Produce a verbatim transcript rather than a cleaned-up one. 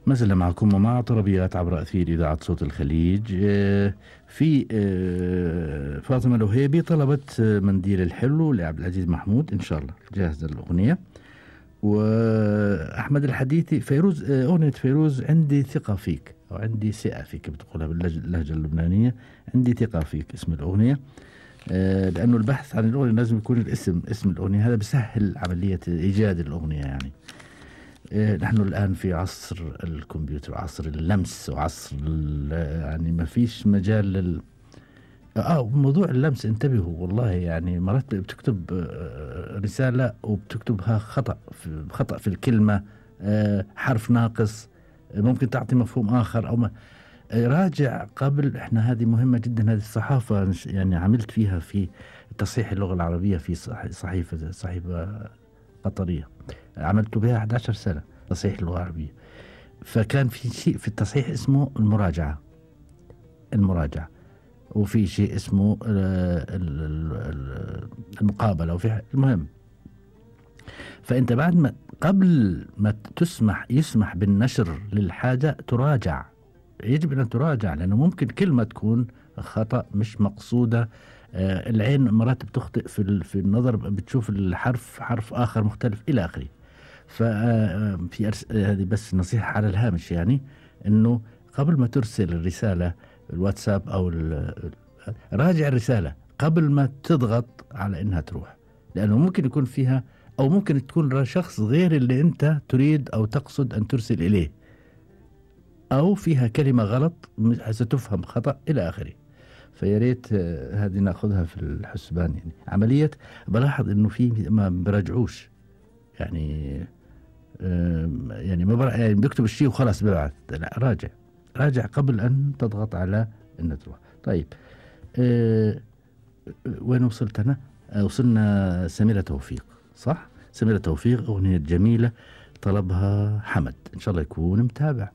ما زلنا معكم ومع طربيات عبر أثير إذاعة صوت الخليج. في فاطمة الوهيبي طلبت منديل الحلو لعبد العزيز محمود، إن شاء الله جاهزة الأغنية. وأحمد الحديثي فيروز، أغنية فيروز عندي ثقة فيك أو عندي ثقة فيك بتقولها باللهجة اللبنانية، عندي ثقة فيك اسم الأغنية. لأنه البحث عن الأغنية لازم يكون الاسم اسم الأغنية، هذا بسهل عملية إيجاد الأغنية. يعني نحن الآن في عصر الكمبيوتر وعصر اللمس وعصر يعني ما فيش مجال لل آه موضوع اللمس انتبهوا والله. يعني مرات بتكتب رسالة وبتكتبها خطأ في خطأ في الكلمة، حرف ناقص ممكن تعطي مفهوم آخر أو ما. راجع قبل، احنا هذه مهمة جدا، هذه الصحافة يعني عملت فيها في تصحيح اللغة العربية في صحيفة صحيفة قطرية، عملت بها أحد عشر سنة تصحيح اللغة العربية. فكان في شيء في التصحيح اسمه المراجعة المراجعة وفي شيء اسمه المقابلة وفي المهم. فأنت بعد ما قبل ما تسمح يسمح بالنشر للحاجة تراجع، يجب أن تراجع، لأنه ممكن كلمة تكون خطأ مش مقصودة. آه العين مرات بتخطئ في في النظر، بتشوف الحرف حرف آخر مختلف إلى آخره. ففي هذه بس نصيحة على الهامش، يعني إنه قبل ما ترسل الرسالة الواتساب أو راجع الرسالة قبل ما تضغط على إنها تروح، لأنه ممكن يكون فيها أو ممكن تكون شخص غير اللي أنت تريد أو تقصد أن ترسل إليه، أو فيها كلمة غلط ستفهم خطأ إلى آخره. فياريت هذه نأخذها في الحسبان. يعني عملية بلاحظ إنه في ما برجعوش، يعني يعني ما يعني بيكتب الشيء وخلاص ببعث، لا راجع راجع قبل أن تضغط على إن تروح. طيب أه وين وصلت أنا؟ أه وصلنا سميرة توفيق، صح؟ سميرة توفيق أغنية جميلة طلبها حمد، إن شاء الله يكون متابع.